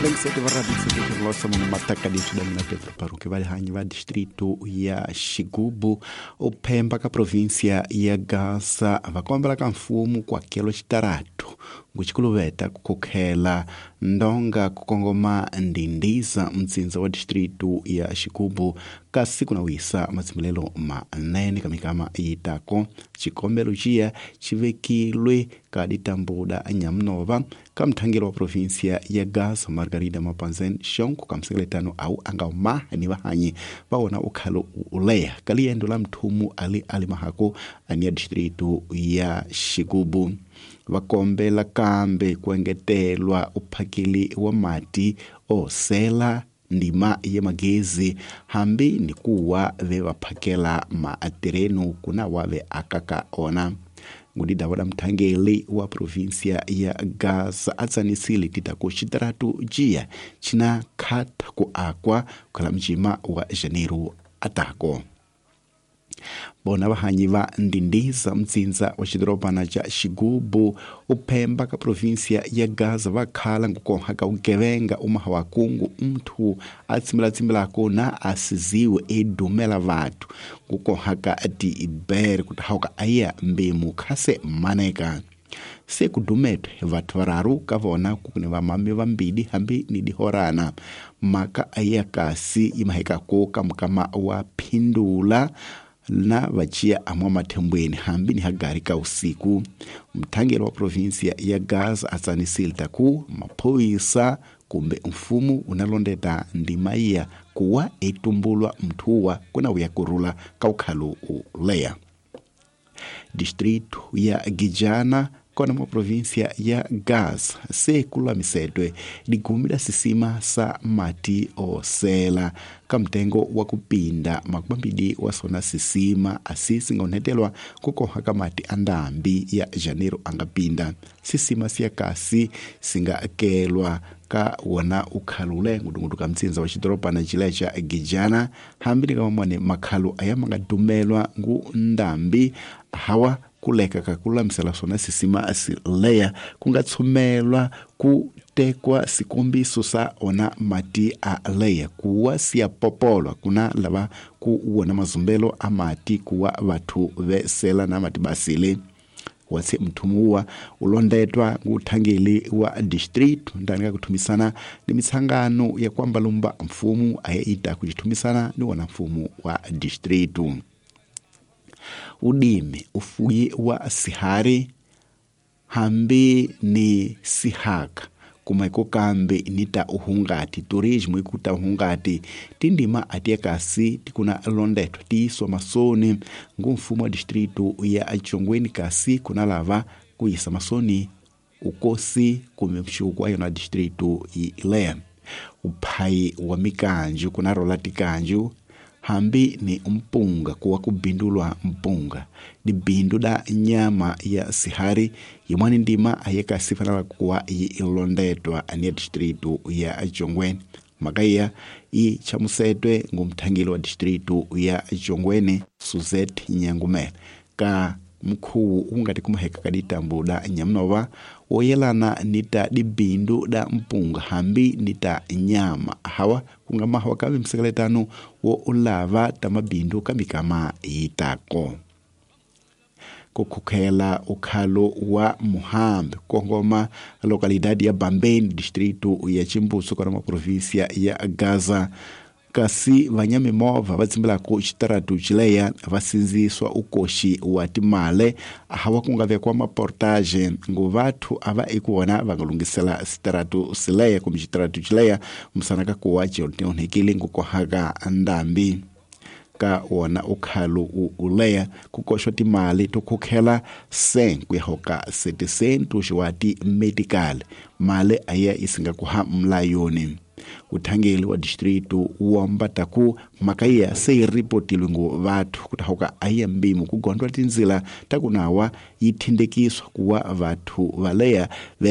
Lengisete va radio matakaditso da mina Pedro Paruque vahanyi va distrito ya Xigubu uphemba ka província ya Gaza va kombela ka mfumo ku hakela xitaratu nguxikuluveta ku khokhela ndonga ku kongoma Ndindiza mtsindza wa distrito ya Xigubu kasi ku na wisa matshimbilelo manene ka mikama yitako xikombelo xiya xi vekilwe ka ditambuda nyamunova ka mthangelo wa província ya Gaza Margarida Mapanzen xongo ka msekeletano au anga umaha ni vahanyi va wona ukhalo uleya ka liendo la mthumu ali ali mahako ania distrito ya Xigubu va kombela kambe ku engetelwa uphakeli wa mati osela ndima ya magezi hambi ni kuwa ve va phakela maatirenu kuna wa ve akaka ona ngudida wa mthangeli wa província ya Gaza atsanisile titaku xitaratu jiya xina khatha ku akwa khala mjima wa Janeiro atako bona vahanyi va Ndindiza mtsindza wa xidorobana xa Xigubu uphemba ka província ya Gaza va khala ngukonha ka ugevenga umaha wa kungu mnthu a tsimbilatsimbilako na a siziwe edumela vathu ngukonha ka tibere kutahauka aya mbemu khase maneka se kudumetwe vathu vararu ka vona kukuni vamami vambili hambi ni dihorana maka aya kasi imahekako ka mukama wa phindula na vaciya amwa mathembweni hambi ni hagari ka usiku mthangeli wa província ya Gaza atsanisile taku maphorisa kumbe mfumo unalondeta ndima iya kuwa etumbulwa mthuwa kuna uya kurula ka ukhalo uleya distrito ya Gijana kona mwa província ya Gaza se kulamisedwe ligumi la sisima sa mati osela ka mtengo wa kupinda makumambili wa sona sisima asi singaonethelwa kukoha ka mati a ndambi ya Janeiro angapinda sisima siya kasi singakelwa ka wona ukhalule ngudungudu ka mtsindza wa xidorobana xile xa Gijana hambi ni ka mamone makhalo aya ma nga dumelwa ngu ndambi hawa kuleka ka ku lulamisela swona sisima sileya ku nga tshumelwa ku tekwa sikombiso sa ona mati a leya kuwa siya popolwa kuna lava ku wona mazumbelo a mati kuwa vathu vesela na mati basile watsi mthumuwa ulondetwa nguthangeli wa district ndani ka kuthumisana ni mitsangano ya kwambalumba mfumo aya ita kuchithumisana ni wona mfumo wa district udimi ufuyi wa sihari hambi ni sihaka kumaiko kambe nita uhungati turismo ikuta uhungati tindima atiya kasi tikuna londetwa tiiswa masoni ngu mfumo wa distrito ya Chongweni kasi kuna lava kuyisa masoni ukosi kumbe mxuku wa yona distrito ile uphayi wa mikanju kuna rola tikanju hambi ni mpunga kuwa kubindulwa mpunga ni bindu da nyama ya sihari yimwani ndima ayeka sifanala kuwa ilondetwa ania distrito ya Chongweni makaya i chamusetwe ngumthangeli wa distrito ya Chongweni Suzette Nyangumela ka mkhuwu ungati kumaheka ka ditambo da nyamunova woyelana nita dibindu da mpunga hambi nita nyama hawa kunga mahawa kabe msekeletano wo ulava tamabindu kamikama yitako kukhukhela ukhalo wa Muhambi kongoma localidade ya Bambeni distrito ya Chimbuso kona ma província ya Gaza kasi vanyamimovha va tsimbilako xitaratu xileya va sindziswa ukoxi wa timale hawa ku nga vekiwa maportage ngu vathu a va eku wona va nga lunghisela xitaratu sileya kumbe xitaratu xileya musana ka kuwa onhekile ngu kohaka ndambi ka wona ukhalo uleya ku koxwa timali to khukhela 5 ku ya hoka 7 xiwa ti-medical mali aya yi singa ku ha mlayoni uthangeli wa distrito womba taku mhaka iya se yi ripotilwe ngu vathu ku tahuka ayiya mbimu ku gondwa tindzila ta kunawa yi tindekiswa kuwa vathu valeya